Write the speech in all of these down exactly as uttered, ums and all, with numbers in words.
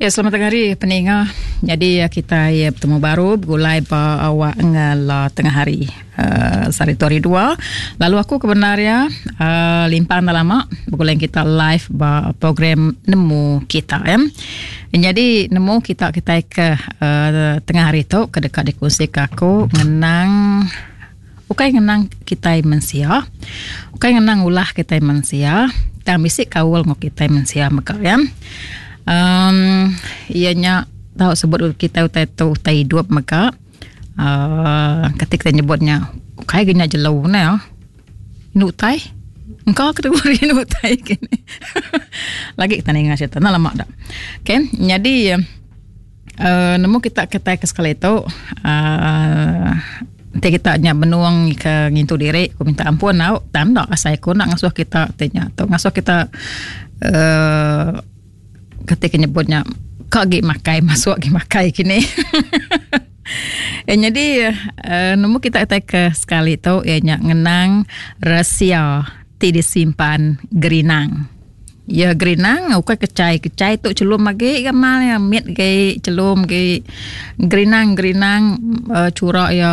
Ya, selamat tengah hari peninga. Jadi kita ya, bertemu baru begulai ba awak ngala tengah hari. Uh, sehari tu hari dua. Lalu aku kebenarnya uh, limpang dah lama begulai kita live ba program Nemu Kita ya. Jadi nemu kita kita ke uh, tengah hari tu ke dekat dikongsi ke aku ngenang ukai ngenang kita mensia. Ukai ngenang ulah kita mensia. Tang bisi kaul ngau kita mensia mega ya. Um, ianya tahu sebut kita utai tu utai hidup mega. Uh, ketika kita nyebutnya ukai genya jelu ne ya. Inu utai. Engkau kategori inu utai kini. Lagi kita ninga cerita nah lama dah. Okey, jadi uh, nemu kita kita ke sekali tu uh, nanti kita nya benuang ke ngintu diri, aku minta ampun tau. Tanda asai aku nak ngasuh kita tanya tu ngasuh kita uh, ketika nyebutnya kak gi makai masuk gi makai kini. Eh, jadi uh, nemu kita ke sekali tu ianya ngenang rahsia ti disimpan gerinang. Ya gerinang ukai kecai-kecai tu celum lagi gamal ya mit ge celum ge gerinang-gerinang uh, curak ya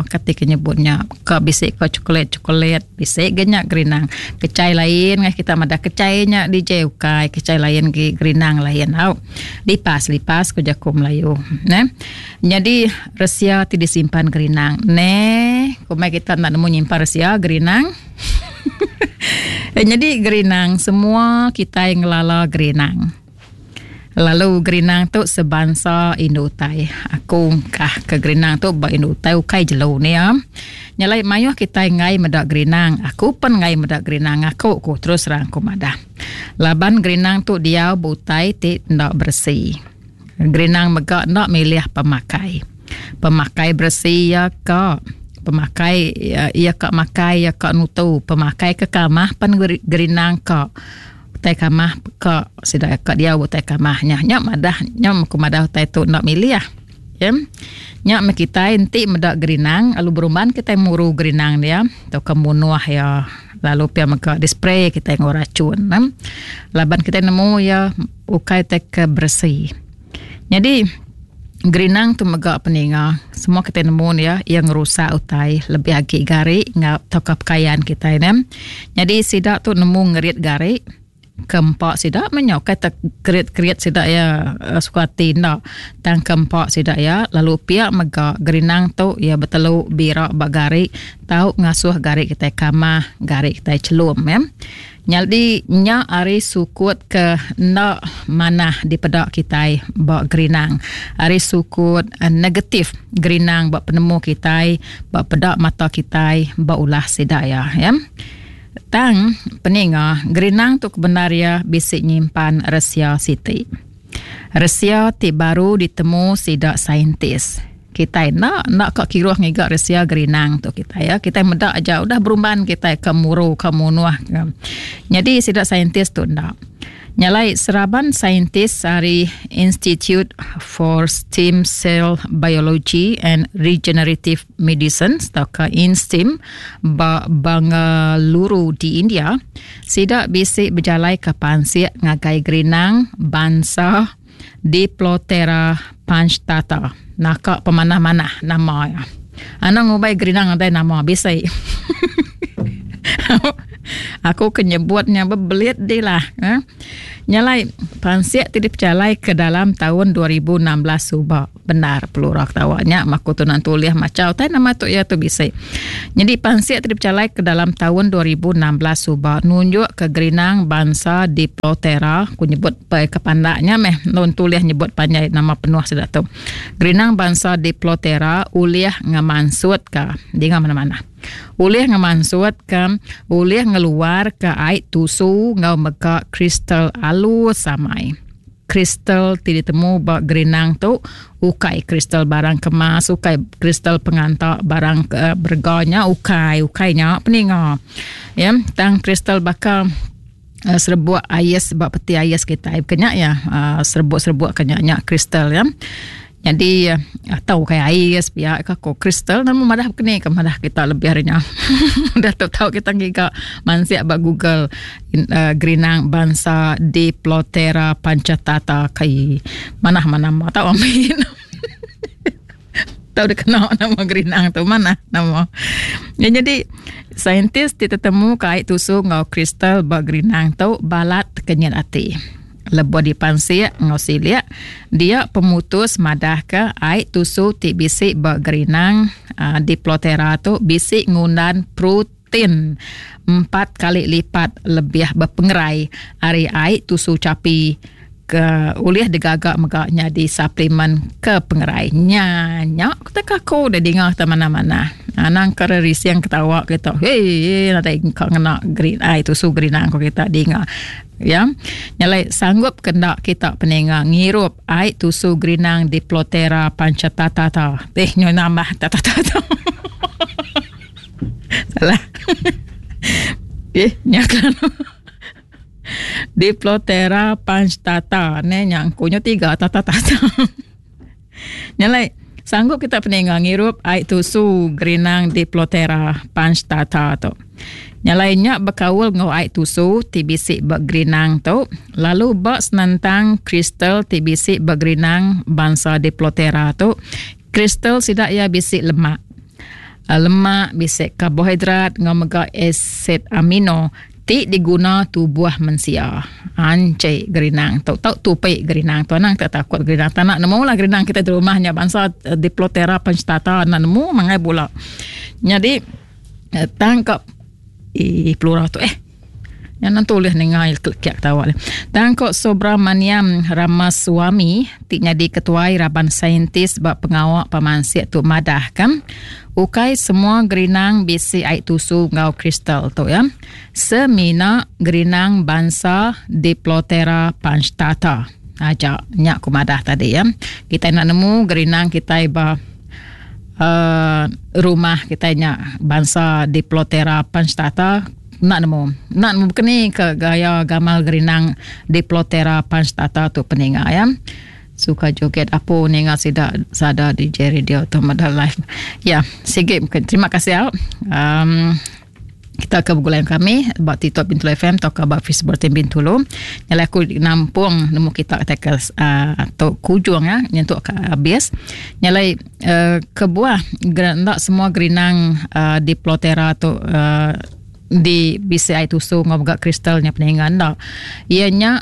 ketika nyebutnya ke bisik ke coklat-coklat bisik ge nya gerinang. Kecai lain ngah kita madah kecainya D J ukai kecai lain ge gerinang lain au. Lipas-lipas ku jaku Melayu ne. Jadi rahsia ti disimpan gerinang. Ne, kumai kita nak nemu nyimpan rahsia gerinang. Eh, jadi gerinang semua kita yang ngelala gerinang. Lalu gerinang tu sebansa indu utai. Aku kah ke gerinang tu ba indu utai ukai jelu ni ya. Nyalai mayuh kita ngai medak gerinang. Aku pun ngai medak gerinang aku ku terus terang ku madah. Laban gerinang tu dia butai ti ndak bersih. Gerinang mega ndak milih pemakai. Pemakai bersih ya ka. Pemakai ya, ya kak makai ya kak nutu pemakai ke kamah pan gerinang kak utai kamah kak sida kak dia utai kamahnya nyak madah nyak ku madah utai tu nak milih ya nyak me kita enti medak gerinang lalu berumban kita muru gerinang dia atau kemunuh ya lalu pia mega di spray kita ngau racun nem laban kita nemu ya ukai tek bersih. Jadi gerinang tu mega peninga semua kita nemu ya yang rusak utai lebih agi gari ngau tokap pakaian kita ne. Jadi sidak tu nemu ngerit gari kempak sidak menyok kata kerit-kerit sidak ya suka hati ndak tang kempak sidak ya lalu pihak mega gerinang tu ya betelu birak bak gari tau ngasuh gari kita kamah gari kita celum ya. Jadi nya ari sukut ke ndak manah di pedak kita bak gerinang. Ari sukut uh, negatif gerinang bak penemu kita, bak pedak mata kita, bak ulah sidak ya ya. Tang peninga gerinang tu kebenar ya bisik nyimpan rahsia siti. Rahsia ti baru ditemu sidak saintis. Kita nak nak kak kiruh ngigak rahsia gerinang tu kita ya. Kita medak aja udah berumban kita ke muru ke munuh. Jadi sidak saintis tu ndak. Nyalai seraban saintis dari Institute for Stem Cell Biology and Regenerative Medicine atau INSTEM ba Bangaluru di India sidak bisik berjalai ke pansik ngagai gerinang bangsa Diplotera Panchtata. Nakak pemanah-manah nama ya. Anak ngubai gerinang ada nama bisik. Aku kenyebutnya bebelit dia lah. Eh? Nyalai pansik tidak berjalai ke dalam tahun dua ribu enam belas subak. Benar pelurak tawaknya maku tu nan tuliah macau tai nama tu ya tu bisik. Jadi pansik tidak berjalai ke dalam tahun dua ribu enam belas subak nunjuk ke gerinang bangsa Diplotera ku nyebut pe kepandaknya meh non tuliah nyebut panjai nama penuh sudah tu. Gerinang bangsa Diplotera uliah ngemansut ka di mana-mana. Ulih ngemansut ke ulih ngeluar ke air tusu ngau mega kristal alus samai. Kristal ti ditemu ba gerinang tu ukai kristal barang kemas, ukai kristal pengantar barang ke berganya ukai ukainya peninga. Ya, tang kristal bakal uh, serbuk ais ba peti ais kita kenya ya, uh, serbuk-serbuk kenya nya kristal ya. Jadi atau kayak air sepiak ke ko kristal nama madah kene ke madah kita lebih harinya. Dah tahu tahu kita ngiga mansiak ba Google uh, gerinang bangsa Diploptera punctata kai manah mana nama tahu amin. Tahu dia kena nama gerinang tu mana nama. Ya, jadi saintis ti tetemu kait tusu ngau kristal ba gerinang tu balat kenyat ati. Lebuh dipansik ngau siliak dia pemutus madah ke air tusu ti bisi ba gerinang uh, Diploptera tu bisi ngundan protein empat kali lipat lebih berpengerai ari air tusu capi ke ulih digagak mega nyadi suplemen ke pengerai. Nya nya kita kaku dah dengar ta mana-mana. Anang kare risiang ketawa kita. Hei, nadai kau ngena green air tusu gerinang ko kita dengar. Ya. Nyalai sanggup kendak kita peninga ngirup air tusu gerinang Diploptera punctata ta. Eh nyo nambah ta ta ta. Salah. Eh nya kan. Diploptera punctata ne nyangkunya tiga ta ta ta. Nyalai sanggup kita peninga ngirup air tusu gerinang Diploptera punctata tu. Nyalai nya berkaul ngau air tusu ti bisi bergerinang tu lalu bak senentang kristal ti bisi bergerinang bangsa Diploptera tu. Kristal sidak ia bisi lemak. Lemak bisi karbohidrat ngau mega asid amino ti diguna tubuh mensia. Ancik gerinang tu tau tupik gerinang tu anang tak takut gerinang tak nak nemu lah gerinang kita di rumahnya bangsa Diploptera punctata nak nemu mangai pula. Jadi tangkap i plural tu eh yang nanti tulis nengai kiak tawa le. Tangkap Subramaniam Ramaswamy ti nyadi ketuai raban saintis bab pengawak pemansik tu madah kan ukai semua gerinang bisi air tusu ngau kristal tu ya. Semina gerinang bangsa Diploptera punctata. Aja nyak ku madah tadi ya. Kita nak nemu gerinang kita ba uh, rumah kita nyak bangsa Diploptera punctata nak nemu. Nak nemu kini ke gaya gamal gerinang Diploptera punctata tu peninga ya. Suka joget apa ninga sida sada di J Radio tu modal live. Ya, sige terima kasih ya. Um, kita ke bergulai kami bak TikTok Bintulu F M atau ke bak Facebook Tim Bintulu. Nyala aku nampung nemu kita ke uh, atau kujung ya nyentuk ke habis. Nyala uh, kebuah ndak semua gerinang uh, Diploptera tu uh, di B C I tusu ngobgak kristalnya peningan dak. Ianya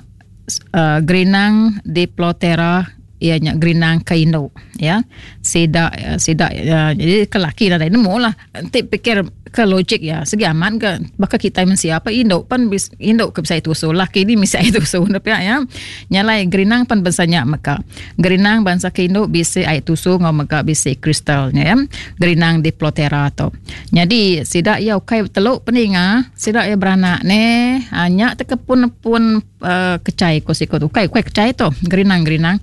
uh, gerinang Diploptera ianya gerinang kainu ya. Sidak sidak uh, jadi kelaki dah nemu lah. Nanti pikir ke logik ya segi aman ke bakal kita mensia apa induk pan bis, induk ke bisa tusu laki ni bisa tusu tapi ya. Nyalai gerinang pan bansanya maka gerinang bangsa ke induk bisa air tusu ngau maka bisa kristalnya ya. Gerinang Diploptera tu. Jadi sidak ya ukai teluk peninga sidak ya beranak ne hanya tekepun-pun uh, kecai ko sikot ukai ukai kecai tu gerinang-gerinang.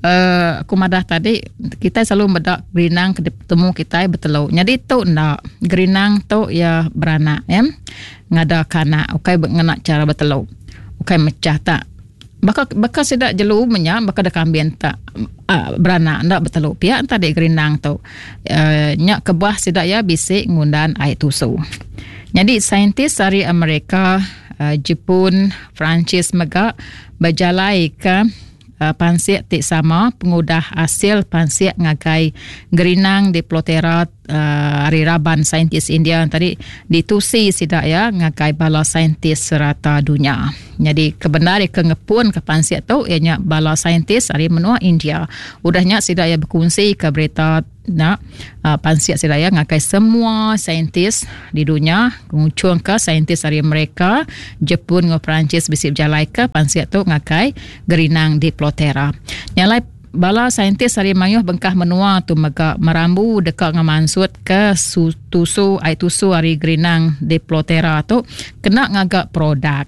Uh, aku madah tadi kita selalu medak gerinang ketemu kita berteluk. Jadi tu ndak gerinang tu ya beranak ya. Ngada kana ukai ngena cara berteluk. Ukai mecah tak. Bakal bakal sidak jelu menya bakal da kambing tak uh, beranak ndak berteluk. Pihak tadi gerinang tu. Uh, nyak kebah sidak ya bisik ngundan air tusu. Jadi saintis dari Amerika, uh, Jepun, Perancis mega berjalai ke pansik tik sama pengudah hasil pansik ngagai gerinang Diploptera uh, hari raban saintis India tadi ditusi sidak ya ngagai bala saintis serata dunia. Jadi kebenar ke ngepun ke pansik tu ianya bala saintis hari menua India. Udahnya sidak ya berkongsi ke berita nak uh, pansik sidak ya ngagai semua saintis di dunia ngucung ke saintis hari mereka Jepun ngau Perancis bisi berjalai ke pansik tu ngagai gerinang Diploptera. Nyalai bala saintis hari mayuh bengkah menua tu mega merambu dekat ngamansut ke su, tusu air tusu hari gerinang Diploptera tu kena ngagak produk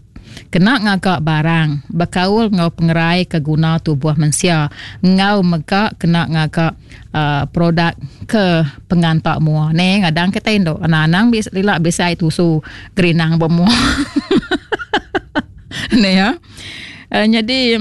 kena ngagak barang berkaul ngau pengerai ke guna tubuh mensia ngau mega kena ngagak uh, produk ke pengantak mua ne ngadang kita induk anak-anak bis lilak bisa air tusu gerinang bermua. Ne ya. Uh, jadi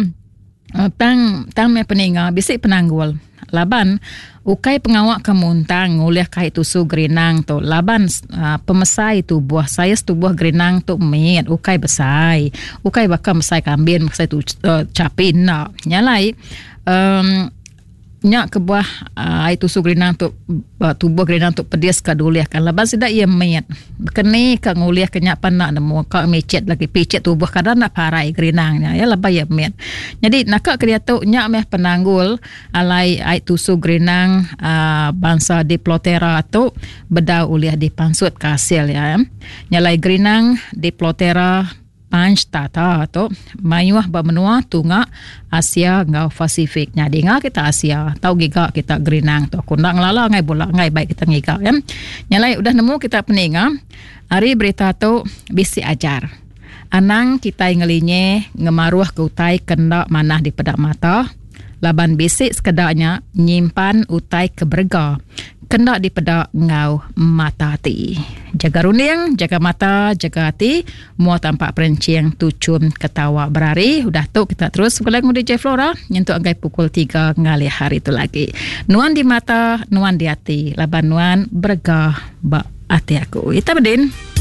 Uh, tang tang meh peninga bisi penanggul laban ukai pengawa ke muntang ngulih kai tusu gerinang tu laban uh, pemesai tubuh saiz tubuh gerinang tu mit ukai besai ukai baka mesai kambin mesai tu uh, chapi enda nyalai um, nya kebuah uh, ai tusu gerinang tu uh, tubuh gerinang tu pedis ka dulih kan laban sida ia mit bekeni ka ngulih ke nya pan nak nemu ka micit lagi picit tubuh kadang nak parai gerinang nya ya laban ia mit. Jadi naka ke diatu nya meh penanggul alai ai tusu gerinang uh, bangsa Diplotera tu bedau ulih dipansut ke hasil ya. Nyalai gerinang Diplotera Panchtata tu mayuh ba menua tunga Asia ngau Pasifik. Nya dinga kita Asia tau giga kita gerinang tu. Aku nak ngelala ngai bola ngai baik kita ngiga ya. Nyalai udah nemu kita peninga hari berita tu bisi ajar. Anang kita ngelinye ngemaruh ke utai kena manah di pedak mata laban bisi sekedaknya nyimpan utai ke berega kena dipedak ngau mata hati. Jaga runding, jaga mata, jaga hati. Mua tampak perencing, tucum, ketawa berari. Udah tu kita terus begulai ngau D J Flora. Nyentuk anggai pukul tiga ngalih hari tu lagi. Nuan di mata, nuan di hati. Laban nuan berega ba hati aku. Ita bedin.